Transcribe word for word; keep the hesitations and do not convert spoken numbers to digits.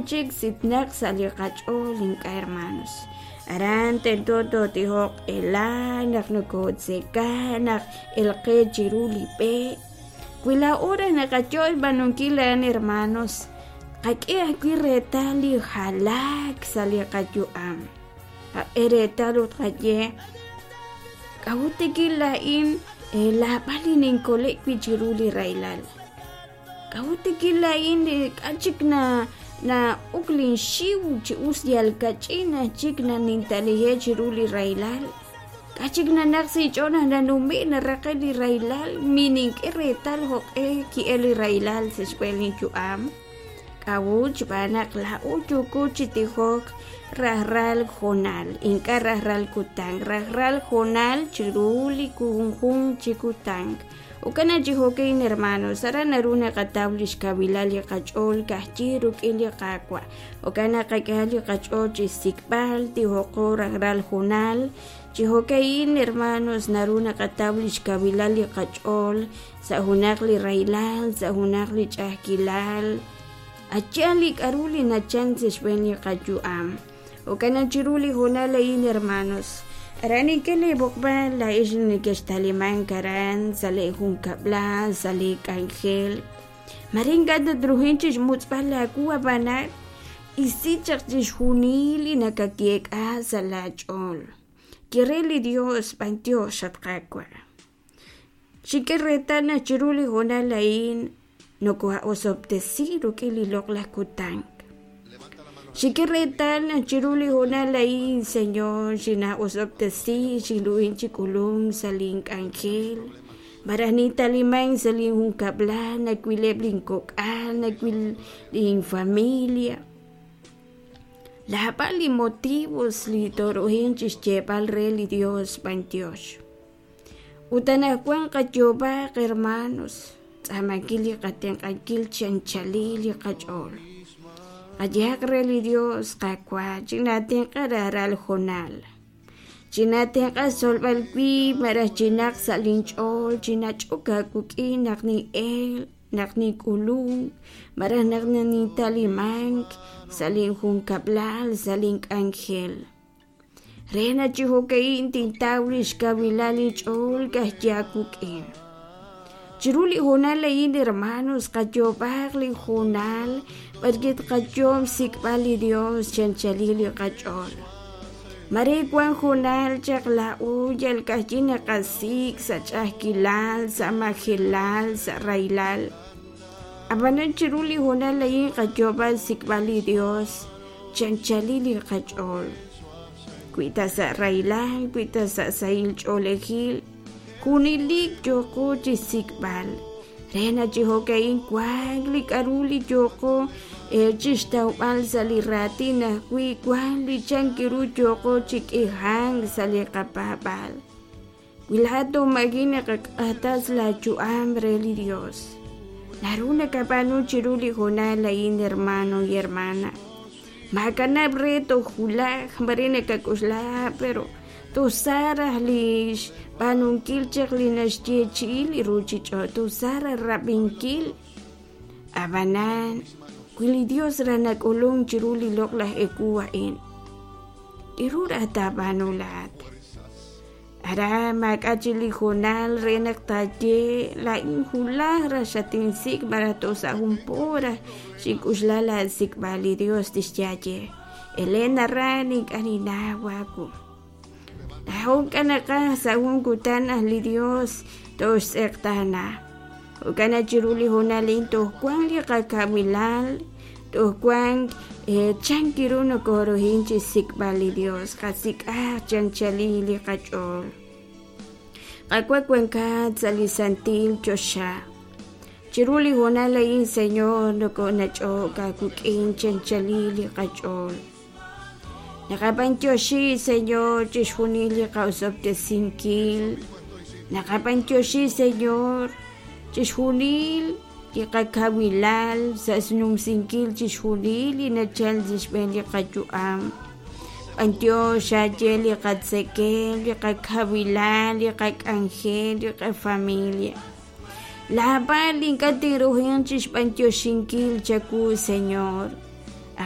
chik sitnaq sa' li qach'ool ink'a' hermanos. Aran tento tootijoq ela naq nokotzeka naq elqe chiru li b'e. Wi laa'o raj naqayo'l b'aanunkil a'an hermanos, qak'e ajwi' reetal li jalaak sa' li qayu'am. Qak'e reetal ut qaye k'a'ut tikil laa'in laab'al li ninkole' wi' chiru li rahilal. K'a'ut tikil laa'in k'a' chik na na uk linxiw chi us yal kach'in aj chik na nintalije chiru li rahilal. K'a' chik nanaq sa' inch'ool naq nanume' naraqe' li rahilal minink'e reetal jo'q'e ki'el li rahilal sa' xb'een linyu'am. K'a'ut xb'aan naq laa'o yooko chi tijok rajlal hoonal, ink'a' rajlal kutan, rajlal hoonal chiru li junjunq chi kutan. Jo'kan chi jo'kan hermanos, aran naru naqataw li xkawilal li qach'ool ka'ajwi' rik'in li Qaawa'. Jo'kan naq qak'e li qach'ool chi xsik'b'al tijoqo rajlal hoonal. Chi jo'kan hermanos naru naqataw li xkawilal li qach'ool sa' junaq li rahilal, sa' junaq li ch'a'ajkilal. Acha' li k'a'ru li nachal sa' xb'een li qayu'am. Jo'kan naq chiru li hoonal a'in hermanos, aran ink'a' li b'oqb'al laa'ex nekextalimank aran sa' li junkab'lal, sa' li k'anjel. Mare ink'a' tatruhin chixmutz'b'al laawu ab'anan isi chaq chixjunil li nakayeek'a sa' laach'ool. Ye re li Dios b'antiox at Qaawa'. Xink'e reetal naq chiru li hoonal a'in nokoha'osob'tesi rik'in li loq'laj kutan. Xink'e reetal naq chiru li hoonal a'in, Señor, xina'osob'tesi xinruhin chi k'ulunk sa' link'anjel. Maraj nintalimank sa' linjunkab'lal, nawileb' linkok'al, nawil linfamilia. Laab'al li motivos li toruhin chixyeeb'al re li Dios b'antiox. Ut anaqwan qayoob'aq hermanos, tz'aamankil li qatenq'ankil chi anchalil li qach'ool. Qayehaq re li Dios Qaawa' chinatenq'a rajlal hoonal. Chinatenq'a xtzolb'al wib' maraj chinaq sa' linch'ool, chinach'ok aawik'in naq nin'el, naq nink'ulunk, maraj naq nintalimank sa' linjunkab'lal, sa' link'anjel. Re naq chi jo'ka'in tintaw li xkawilal linch'ool ka'ajwi' aawik'in. Chiru li hoonal a'in hermanos, qayoob'aq li hoonal b'arwi' tqayoob' xsik'b'al li Dios chi anchalil li qach'ool. Mare wan hoonal chaq laa'o yal ka'ajwi' naqasik' sa' ch'a'ajkilal, sa' majelal, sa' rahilal. Ab'anan chiru li hoonal a'in qayoob'al xsik'b'al li Dios chi anchalil li qach'ool. Wi ta sa' rahilal, wi ta sa' sahil ch'oolejil, junelik yooqo chi xsik'b'al. Re naq chi jo'ka'in wank li k'a'ru li yooqo chixtawb'al sa' li raatin ajwi' wank li chan kiru yooqo chi k'ihank sa' li qapaab'al. Wi laa'at toomagi naqak'atas laayu'am re li Dios. Naru nakab'aanu chiru li hoonal a'in hermano y hermana. Maakanab' re toj wulaj, mare nakak'oxla, pero tusaraj li xb'aanunkil chaq li naxyeechi'i li ruuchich'och', tusaraj rab'inkil. Ab'anan, wi li Dios raj nak'ulunk chiru li loq'laj ewu a'in, k'aru raj taab'aanu laa'at? Ara maak'a' chi li hoonal re naq taaye laa'in wulaj raj xatinsik' maraj toj sa' jun po raj xink'uxla laasik'b'al li Dios tixyaye. Elena ran ink'a' ninnaw aawu. Laa'o ink'a' naqaj sa' jun kutan naq li Dios toxtz'eqtaana. Jo'kan naq chiru li hoonal a'in toj wank li qakawilal, toj wank chan kiru nokoruhin chi xsik'b'al li Dios, qasik'aq chi anchalil li qach'ool. Qaawa' wankat sa' li santil choxa. Chiru li hoonal a'in, Señor, nokonach'ok aawik'in chi anchalil li qach'ool. Naqab'antioxi, Señor, chixjunil li qa'osob'tesinkil. Naqab'antioxi, Señor, chixjunil li qakawilal sa' xnumsinkil chixjunil li nachal sa' xb'een li qayu'am. B'antiox aye li qatzekel, li qakawilal, li qak'anjel, li qafamilia. Laab'al ink'a' tinruhin chixb'antioxinkil chawu, Señor.